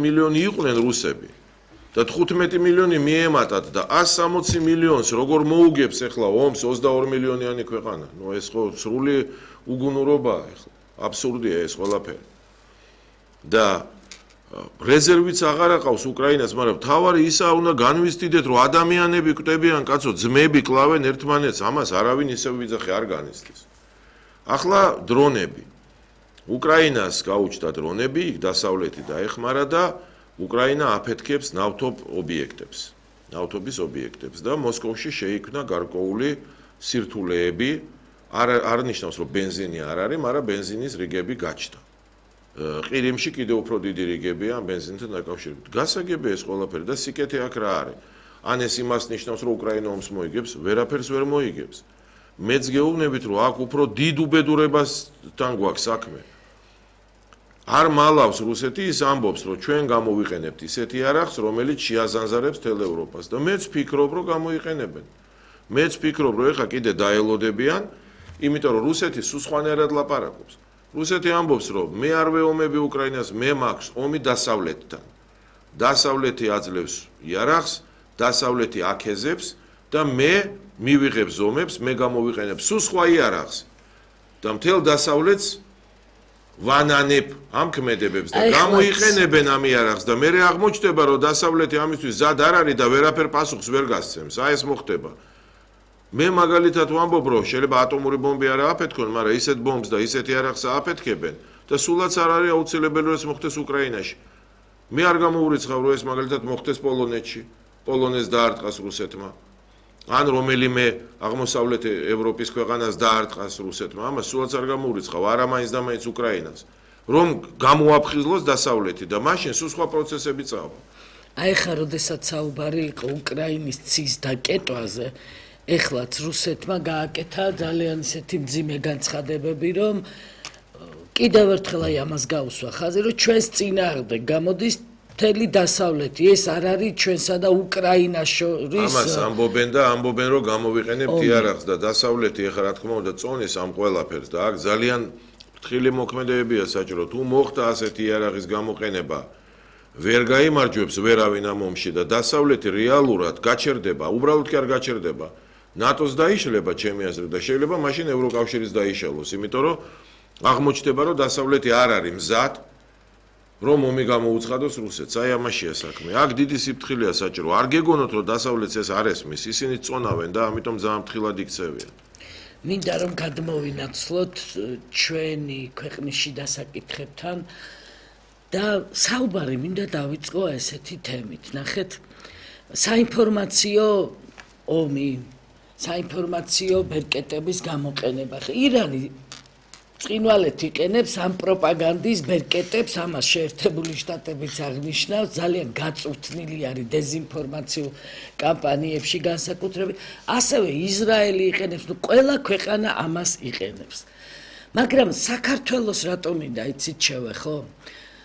მილიონი იყვნენ რუსები და 15 მილიონი მიემატათ და 160 მილიონს როგორ მოუგებს ახლა ომს 22 მილიონიანი ქვეყანა. ნუ ეს ხო სრული უგუნურობაა ახლა. აბსურდია ეს ყველაფერი. და რეზერვიც აღარ აყავს უკრაინას, მაგრამ თავარი ისა უნდა განვიზდიდეთ, რომ ადამიანები კვდებიან, კაცო, ძმები კლავენ ერთმანეთს, ამას არავინ ისევ ვიძახი არ განიცდის. ახლა დრონები. უკრაინას გაუჩნდა დრონები, იქ დასავლეთი დაეხმარა და უკრაინა აფეთქებს ნავთობის ობიექტებს და მოსკოვში შეიქმნა გარკვეული სირთულეები, არ ნიშნავს, რომ ბენზინი არ არის, მაგრამ ბენზინის რიგები გაჩნდა. ყირიმში კიდევ უფრო დიდი რიგებია ამ ბენზინთან დაკავშირებით. გასაგებია ეს ყველაფერი და სიკეთე აქ რა არის. ან ეს იმას ნიშნავს, რომ უკრაინა ომს მოიგებს, ვერაფერს ვერ მოიგებს. მეც გეუბნებით, რომ აქ უფრო დიდ უბედურებასთან გვაქვს საქმე. არ მალავს რუსეთი ის ამბობს, რომ ჩვენ გამოვიყენებთ ისეთი არახს, რომელიც შეაზანზარებს თელ ევროპას და მეც ფიქრობ, რომ გამოიყენებენ. მეც ფიქრობ, რომ ეხა კიდე დაელოდებიან, იმიტომ რომ რუსეთი სულ სხვანაირად ლაპარაკობს. რუსეთი ამბობს, რომ მე არ ვეომები უკრაინას, მე მაქვს ომი დასავლეთთან. დასავლეთი აძლევს იარაღს, დასავლეთი აკეზებს და მე მივიღებ ზომებს, მე გამოვიყენებ სულ სხვა იარაღს და მთელ დასავლეთს ვანანებ ამ ქმედებებს და გამოიყენებენ ამ იარაღს და მე აღმოჩნდება, რომ დასავლეთი ამისთვის ზად არ არის და ვერაფერ პასუხს ვერ გასცემს. აი ეს მოხდება. მე მაგალითად ვამბობ, რომ შეიძლება ატომური ბომბი არ ააფეთქონ, მაგრამ ისეთ ბომბს და ისეთ იარაღს ააფეთქებენ და სულაც არ არის აუცილებელი, რომ ეს მოხდეს უკრაინაში. მე არ გამოურიცხავ, რომ ეს მაგალითად მოხდეს პოლონეთში, პოლონეთს დაარტყას რუსეთმა. ან რომელიმე აღმოსავლეთ ევროპის ქვეყანას დაარტყას რუსეთმა, ამას სულაც არ გამოურიცხავ, არა მაინც და მაინც უკრაინას, რომ გამოაფხიზლოს დასავლეთი და მაშინ სულ სხვა პროცესები წავა. აი ხა როდესაც საუბარი იყო უკრაინის ცის დაკეტვაზე, ეხლაც რუსეთმა გააკეთა ძალიან ისეთი მძიმე განცხადებები, რომ კიდევ ერთხელ აი ამას გაუსვა ხაზი, რომ ჩვენს წინააღმდეგ გამოდის მთელი დასავლეთი, ეს არ არის ჩვენსა და უკრაინას შორის. ამას ამბობენ, რომ გამოვიყენებთ იარაღს და დასავლეთი ეხლა რა თქმა უნდა წონის ამ ყველაფერს და აქ ძალიან ფრთხილი მოქმედებებია საჭირო. თუ მოხდა ასეთი იარაღის გამოყენება, ვერ გაიმარჯვებს ვერავინ ამ ომში და დასავლეთი რეალურად გაჩერდება, უბრალოდ კი არ გაჩერდება. ნატოს დაიშლება ჩემი აზრით და შეიძლება მაშინ ევროკავშირის დაიშალოს, იმიტომ რომ აღმოჩნდება, რომ დასავლეთი არ არის მზად რომ ომი გამოუცხადოს რუსეთს. აი ამაშია საქმე. აქ დიდი სიფრთხილეა საჭირო. არ გეგონოთ, რომ დასავლეთს ეს არ ესმის, ისინი წონავენ და ამიტომ ძალიან ფრთხილად იქცევიან. მინდა რომ გადმოვინაცვლოთ ჩვენი ქვეყნის შიდა საკითხებთან და საუბარი მინდა დავიწყო ესეთი თემით. ნახეთ, საინფორმაციო ომი, საინფორმაციო ბერკეტების გამოყენება. ირანი წინვალეთ იყენებს ამ პროპაგანდის ბერკეტებს, ამას შეერთებული შტატებიც აღნიშნავს, ძალიან გაწვრთნილი არის დეზინფორმაციულ კამპანიებში განსაკუთრებით, ასევე ისრაელი იყენებს, ნუ ყველა ქვეყანა ამას იყენებს. მაგრამ საქართველოს რატომ მინდა იცით შევეხო?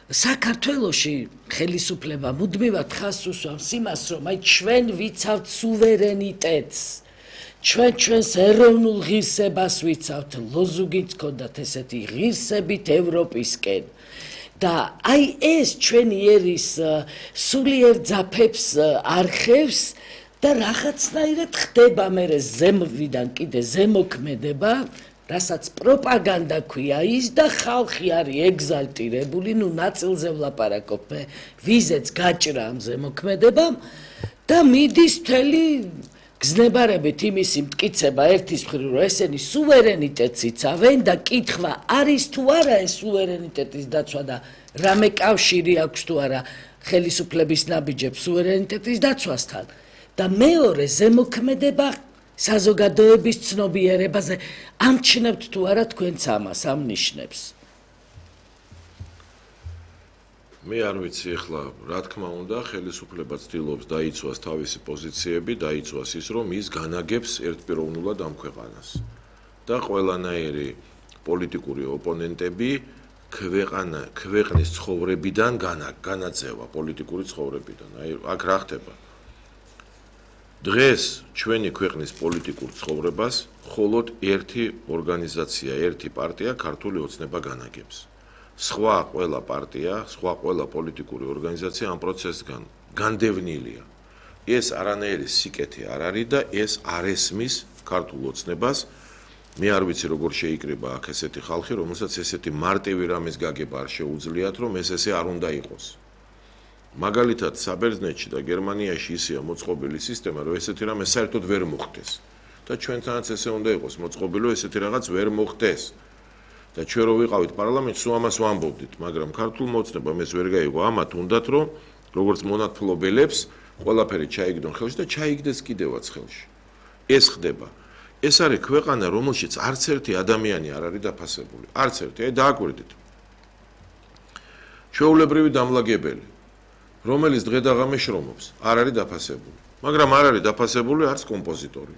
საქართველოში ხელისუფლება მუდმივად ხაზს უსვამს იმას, რომ აი ჩვენ ვიცავთ სუვერენიტეტს. ჩვენს ეროვნულ ღირსებას ვიცავთ, ლოზუნგიც ჰქონდათ ესეთი ღირსებით ევროპისკენ. და აი ეს ჩვენი ერის სულიერ ძაფებს არხევს და რაღაცნაირად ხდება მერე ზემოდან კიდე ზემოქმედება, რასაც პროპაგანდა ქვია ის და ხალხი არის ეგზალტირებული, ნუ ნაწილზე ვლაპარაკობ მე, ვიზეც გაჭრა ამ ზემოქმედებამ და მიდის მთელი გზნებარებით იმისი მტკიცება ერთის მხრივ, რომ ესენი სუვერენიტეტს იცავენ და კითხვა არის თუ არა ეს სუვერენიტეტის დაცვა და რამე კავშირი აქვს თუ არა ხელისუფლების ნაბიჯებს სუვერენიტეტის დაცვასთან. და მეორე ზემოქმედება საზოგადოების ცნობიერებაზე. ამჩნევთ თუ არა თქვენც ამას, ამ ნიშნებს? მე არ ვიცი ახლა, რა თქმა უნდა, ხელისუფლება ცდილობს დაიცვას თავისი პოზიციები, დაიცვას ის, რომ ის განაგებს ერთპიროვნულად ამ ქვეყანას. და ყველანაირი პოლიტიკური ოპონენტები ქვეყნის ცხოვრებიდან განაწევა პოლიტიკური ცხოვრებიდან. აი, აქ რა ხდება? დღეს ჩვენი ქვეყნის პოლიტიკურ ცხოვრებას მხოლოდ ერთი ორგანიზაცია, ერთი პარტია ქართული ოცნება განაგებს. სხვა ყველა პარტია, სხვა ყველა პოლიტიკური ორგანიზაცია ამ პროცესთან განდევნილია. ეს არანაირი სიკეთე არ არის და ეს არ ესმის ქართულ ოცნებას. მე არ ვიცი როგორ შეიკრიბა აქ ესეთი ხალხი, რომელსაც ესეთი მარტივი რამის გაგება არ შეუძლიათ, რომ ეს ესე არ უნდა იყოს. მაგალითად, საბერძნეთში და გერმანიაში ისეა მოწყობილი სისტემა, რომ ესეთი რამე საერთოდ ვერ მოხდეს. და ჩვენთანაც ესე უნდა იყოს მოწყობილი, რომ ესეთი რაღაც ვერ მოხდეს. და ჩვენ რო ვიყავით პარლამენტში, სულ ამას ვამბობდით, მაგრამ ქართულმა ოცნებამ ეს ვერ გაიგო. ამათ უნდათ, რომ როგორც მონათმფლობელებს ყველაფერი ჩაიგდონ ხელში და ჩაიგდეს კიდევაც ხელში. ეს ხდება. ეს არის ქვეყანა, რომელშიც არც ერთი ადამიანი არ არის დაფასებული. არც ერთი. აი დააკვირდით. ჩვეულებრივი დამლაგებელი, რომელიც დღე და ღამე შრომობს, არ არის დაფასებული. მაგრამ არ არის დაფასებული არც კომპოზიტორი.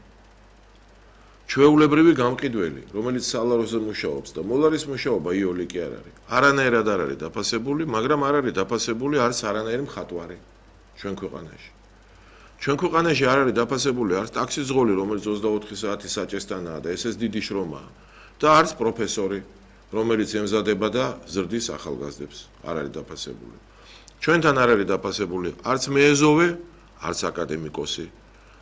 ჩვეულებრივი გამყიდველი, რომელიც სალაროზე მუშაობს და მოლარის მუშაობა იოლი კი არ არის. არანაირად არ არის დაფასებული, მაგრამ არ არის დაფასებული არც არანაირი მხატვარი ჩვენ ქვეყანაში. ჩვენ ქვეყანაში არ არის დაფასებული არც ტაქსიზღოლი, რომელიც 24 საათი საჭესთანაა და ესეც დიდი შრომაა და არც პროფესორი, რომელიც ემზადება და ზრდის ახალგაზრდებს, არ არის დაფასებული. ჩვენთან არ არის დაფასებული არც მეეზოვე, არც აკადემიკოსი,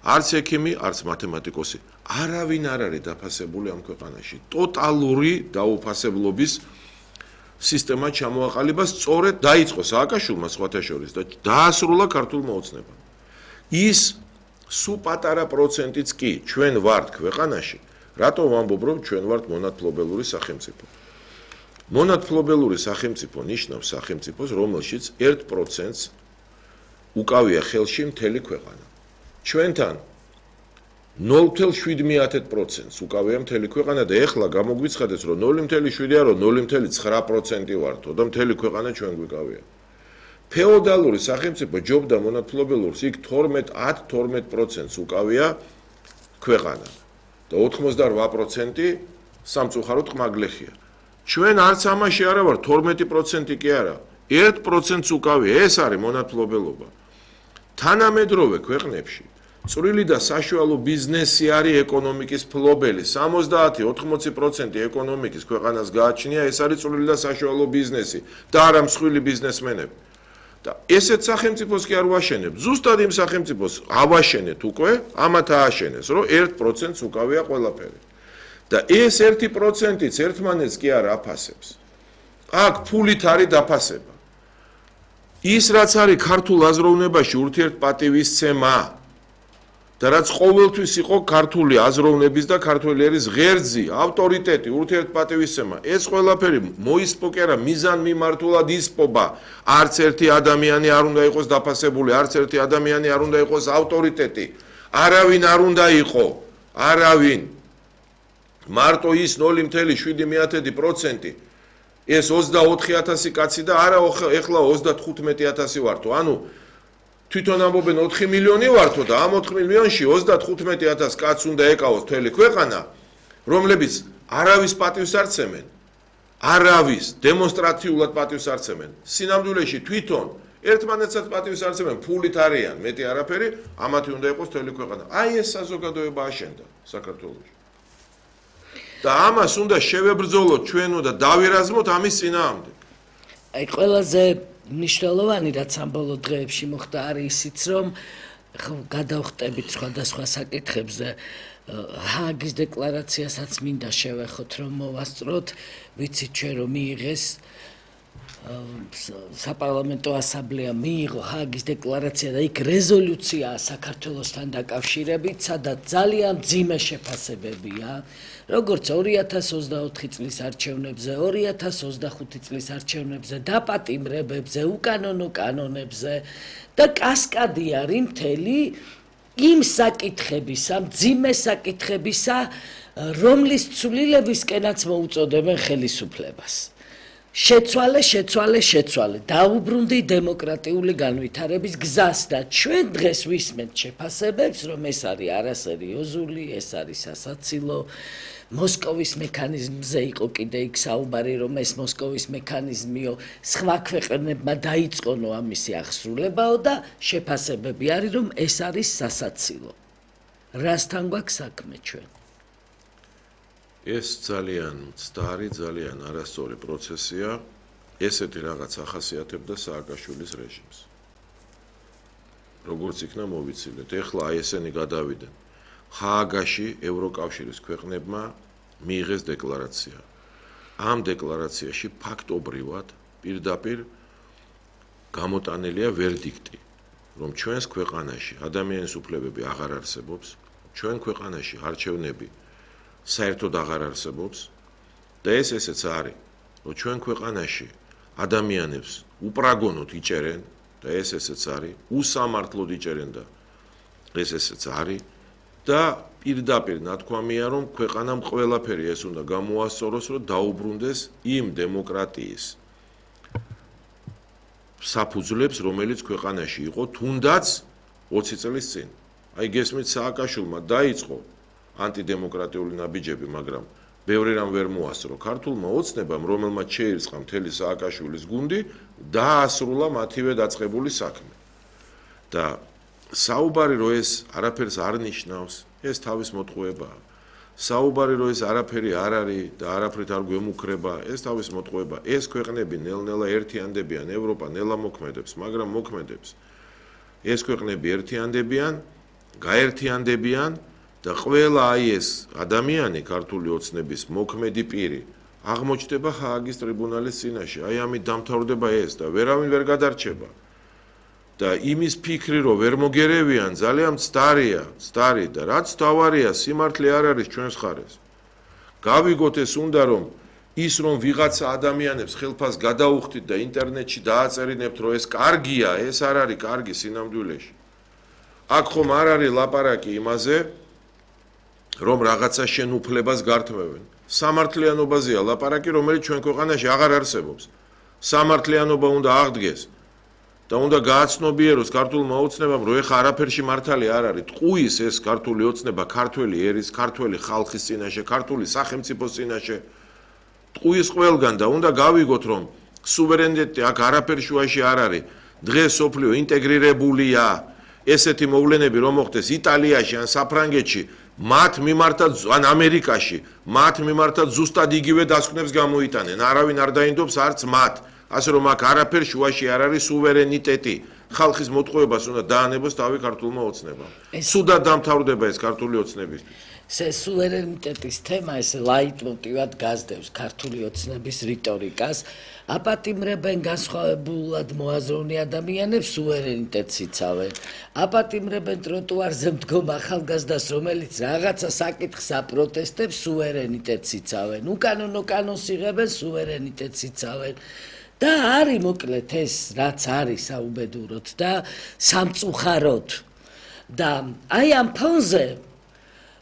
არც ექიმი, არც მათემატიკოსი. არავინ არ არის დაფასებული ამ ქვეყანაში. ტოტალური დაუფასებლობის სისტემა ჩამოაყალიბა, სწორედ დაიწყო სააკაშვილმა სხვათა შორის და დაასრულა ქართულმა ოცნებამ. ის სულ პატარა პროცენტიც კი ჩვენ ვართ ქვეყანაში, რატომ ვამბობ, რომ ჩვენ ვართ მონათმფლობელური სახელმწიფო. მონათმფლობელური სახელმწიფო ნიშნავს სახელმწიფოს, რომელშიც 1%-ს უკავია ხელში მთელი ქვეყანა. ჩვენთან 0.7%-ს უკავია მთელი ქვეყანა და ეხლა გამოგვიცხადეს, რომ 0.7 არა, 0.9% ვართო და მთელი ქვეყანა ჩვენ გვიკავია. ფეოდალური სახელმწიფო ჯობდა მონათმფლობელურს, იქ 10-12%-ს უკავია ქვეყანა და 88% სამწუხაროდ ყმაგლეხია. ჩვენ არც ამაში არა ვარ, 12% კი არა, 1%-ს უკავია, ეს არის მონათმფლობელობა. თანამედროვე ქვეყნებში წვრილი და საშუალო ბიზნესი არის ეკონომიკის მფლობელი. 70-80% ეკონომიკის ქვეყანას გააჩნია, ეს არის წვრილი და საშუალო ბიზნესი და არა მსხვილი ბიზნესმენები. და ესეთ სახელმწიფოს კი არ ვაშენებ. ზუსტად იმ სახელმწიფოს ავაშენეთ უკვე, ამათ ააშენეს, რომ 1%-ს უკავია ყველაფერი. და ეს 1%-იც ერთმანეთს კი არ აფასებს. აქ ფულით არის დაფასება. ის რაც არის ქართულ აზროვნებაში ურთიერთპატივისცემა და რაც ყოველთვის იყო ქართული აზროვნების და ქართველი ერის ღერძი, ავტორიტეტი, ურთიერთპატივისცემა, ეს ყველაფერი მოისპო კი არა, მიზანმიმართულად ისპობა. არც ერთი ადამიანი არ უნდა იყოს დაფასებული, არც ერთი ადამიანი არ უნდა იყოს ავტორიტეტი. არავინ არ უნდა იყო, არავინ. მარტო ის 0.7%, ეს 24,000 კაცი და არა ეხლა 35,000 ვართო. ანუ თვითონ ამბობენ 4 მილიონი ვართო და ამ 4 მილიონში 35,000 კაცს უნდა ეკავოს მთელი ქვეყანა, რომლებიც არავის პატივს არ ცემენ. არავის დემონსტრაციულად პატივს არ ცემენ. სინამდვილეში თვითონ ერთმანეთსაც პატივს არ ცემენ, ფულით არიან, მეტი არაფერი, ამათი უნდა იყოს მთელი ქვეყანა. აი ეს საზოგადოება აშენდა საქართველოში. და ამას უნდა შევებრძოლოთ ჩვენ და დავირაზმოთ ამის წინააღმდეგ. აი ყველაზე მნიშვნელოვანი რაც ამ ბოლო დღეებში მოხდა არის ისიც, რომ გადავხტებით სხვადასხვა საკითხებზე, ჰააგის დეკლარაციასაც მინდა შევეხოთ, რომ მოვასწროთ, ვიცით ჩვენ რომ მიიღეს საპარლამენტო ასამბლეა მიიღო ჰააგის დეკლარაცია და იქ რეზოლუციაა საქართველოსთან დაკავშირებით, სადაც ძალიან მძიმე შეფასებებია, როგორც 2024 წლის არჩევნებზე, 2025 წლის არჩევნებზე, დაპატიმრებებზე, უკანონო კანონებზე და კასკადი არის მთელი იმ საკითხებისა, მძიმე საკითხებისა, რომლის ცვლილებისკენაც მოუწოდებენ ხელისუფლებას. შეცვალე, დაუბრუნდი დემოკრატიული განვითარების გზას და ჩვენ დღეს ვისმენთ შეფასებებს, რომ ეს არის არასერიოზული, ეს არის სასაცილო, მოსკოვის მექანიზმზე იყო კიდე იქ საუბარი, რომ ეს მოსკოვის მექანიზმიო, სხვა ქვეყნებმა დაიწყონო ამისი აღსრულებაო და შეფასებები არის, რომ ეს არის სასაცილო. რასთან გვაქვს საქმე ჩვენ? ეს ძალიან მცდარი, ძალიან არასწორი პროცესია ესეთი რაღაც ახასიათებდა სააკაშვილის რეჟიმს. როგორც იქნა მოვიცილეთ, ეხლა აი ესენი გადავიდნენ. ჰააგაში ევროკავშირის ქვეყნებმა მიიღეს დეკლარაცია. ამ დეკლარაციაში ფაქტობრივად პირდაპირ გამოტანილია ვერდიქტი, რომ ჩვენს ქვეყანაში ადამიანის უფლებები აღარ არსებობს, ჩვენ ქვეყანაში არჩევნები საერთოდ აღარ არსებობს და ესეც არის, რომ ჩვენ ქვეყანაში ადამიანებს უპრაგონოდ იჭერენ და ესეც არის, უსამართლოდ იჭერენ და ესეც არის და პირდაპირ ნათქვამია, რომ ქვეყანამ ყველაფერი ეს უნდა გამოასწოროს, რომ დაუბრუნდეს იმ დემოკრატიის საფუძვლებს, რომელიც ქვეყანაში იყო თუნდაც 20 წლის წინ. აი გესმით, სააკაშვილმა დაიწყო ანტიდემოკრატიული ნაბიჯები, მაგრამ ბევრი რამ ვერ მოასწრო. ქართულმა ოცნებამ, რომელმაც შეირწყა მთელი სააკაშვილის გუნდი, დაასრულა მათივე დაწყებული საქმე. და საუბარი რომ ეს არაფერს არ ნიშნავს, ეს თავის მოტყუებაა. საუბარი რომ ეს არაფერი არ არის და არაფრით არ გვემუქრება, ეს თავის მოტყუება. ეს ქვეყნები ნელ-ნელა ერთიანდებიან, ევროპა ნელა მოქმედებს, მაგრამ მოქმედებს. ეს ქვეყნები ერთიანდებიან, გაერთიანდებიან და ყველა აი ეს ადამიანი ქართული ოცნების მოქმედი პირი აღმოჩნდება ჰააგის ტრიბუნალის წინაშე. აი ამით დამთავრდება ეს და ვერავინ ვერ გადარჩება. და იმის ფიქრი რომ ვერ მოგერევიან ძალიან მცდარი და რაც თავარია სიმართლე არ არის ჩვენს ხარეს. გავიგოთ ეს უნდა რომ ის რომ ვიღაცა ადამიანებს ხელფას გადაუხდით და ინტერნეტში დააწერინებთ რომ ეს კარგია, ეს არ არის კარგი სინამდვილეში. აქ ხომ არ არის ლაპარაკი იმაზე რომ რაღაცა შენუფლებას გართმევენ. სამართლიანობაზეა ლაპარაკი, რომელიც ჩვენ ქვეყანაში აღარ არსებობს. სამართლიანობა უნდა აღდგეს. და უნდა გააცნობიეროს ქართულმა ოცნებამ, რომ ეხა არაფერში მართალი არ არის. ტყუის ეს ქართული ოცნება, ქართველი ერის, ქართველი ხალხის წინაშე, ქართული სახელმწიფოს წინაშე. ტყუის ყველგან და უნდა გავიგოთ, რომ სუვერენიტეტი აქ არაფერ შუაში არ არის. დღეს სოფლიო ინტეგრირებულია. ესეთი მოვლენები რომ მოხდეს იტალიაში ან საფრანგეთში, მათ მიმართად ან ამერიკაში, მათ მიმართად ზუსტად იგივე დასკვნებს გამოიტანენ. არავინ არ დაინდობს არც მათ. ასე რომ აქ არაფერ შუაში არ არის სუვერენიტეტი. ხალხის მოტყუებას უნდა დაანებოს თავი ქართულმა ოცნებამ. სუდად დამთავრდება ეს ქართული ოცნებისთვის. ეს სუვერენიტეტის თემა ეს ლაიტმოტივად გასდევს ქართული ოცნების რიტორიკას. აპატიმრებენ განსხვავებულად მოაზროვნე ადამიანებს, სუვერენიტეტს იცავენ. აპატიმრებენ ტროტუარზე მდგომ ახალგაზრდას, რომელიც რაღაცა საკითხს აპროტესტებს, სუვერენიტეტს იცავენ. უკანონო კანონს იღებენ, სუვერენიტეტს იცავენ. და არის მოკლედ ეს რაც არის საუბედუროთ და სამწუხაროდ. და აი ამ ფონზე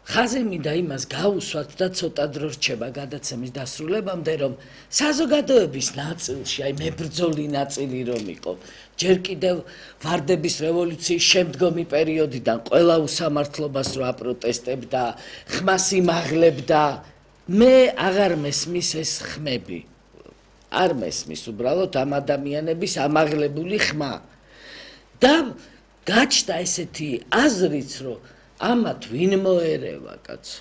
ხაზი მინდა იმას გაუსვათ და ცოტა დრო რჩება გადაცემის დასრულებამდე, რომ საზოგადოების ნაწილში, აი მებრძოლი ნაწილი რომ იყო, ჯერ კიდევ ვარდების რევოლუციის შემდგომი პერიოდიდან ყველა უსამართლობას რო აპროტესტებდა, ხმას იმაღლებდა, მე აღარ მესმის ეს ხმები. არ მესმის უბრალოდ ამ ადამიანების ამაღლებული ხმა. და გაჩნდა ესეთი აზრიც, რომ ამათ ვინ მოერევა კაცო.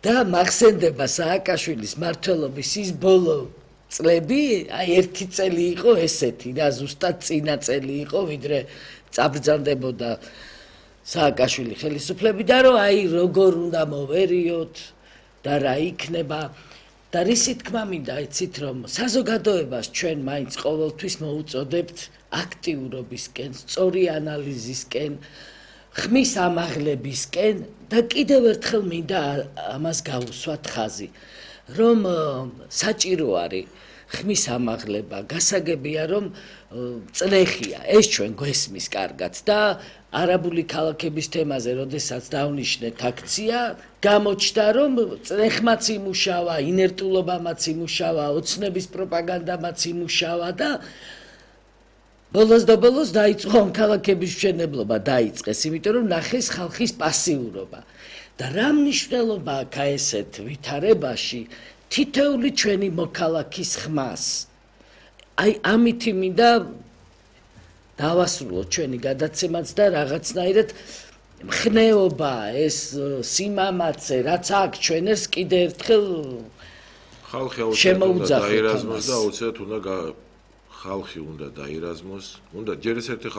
და მახსენდება სააკაშვილის მმართველობის ის ბოლო წლები, აი ერთი წელი იყო ესეთი, და ზუსტად წინა წელი იყო, ვიდრე წაბრძანდებოდა სააკაშვილი ხელისუფლები და რომ აი როგორ უნდა მოვერიოთ და რა იქნება. და რისი თქმა მინდა იცით, რომ საზოგადოებას ჩვენ მაინც ყოველთვის მოუწოდებთ აქტიურობისკენ, სწორი ანალიზისკენ, ხმის ამაღლებისკენ და კიდევ ერთხელ მინდა ამას გავუსვათ ხაზი, რომ საჭირო არის ხმის ამაღლება, გასაგებია რომ წნეხია, ეს ჩვენ გვესმის კარგად და არაბული ქალაქების თემაზე, როდესაც დავნიშნეთ აქცია, გამოჩნდა რომ წნეხმაც იმუშავა, ინერტულობამაც იმუშავა, ოცნების პროპაგანდამაც იმუშავა და ბოლოს და ბოლოს დაიწყო ამ ქალაქების მშენებლობა დაიწყეს, იმიტომ რომ ნახეს ხალხის პასიურობა. და რა მნიშვნელობა აქვს ესეთ ვითარებაში თითოეული ჩვენი მოქალაქის ხმას. აი ამით მინდა დავასრულოთ ჩვენი გადაცემაც და რაღაცნაირად მხნეობა, ეს სიმამაცე, რაც აქვს ჩვენ ეს კიდე ერთხელ ხალხი აუცილებლად უნდა შემოუძახოთ დაირაზმოს და ამას. აუცილებლად უნდა ხალხი უნდა დაირაზმოს, უნდა ჯერ ეს ერთი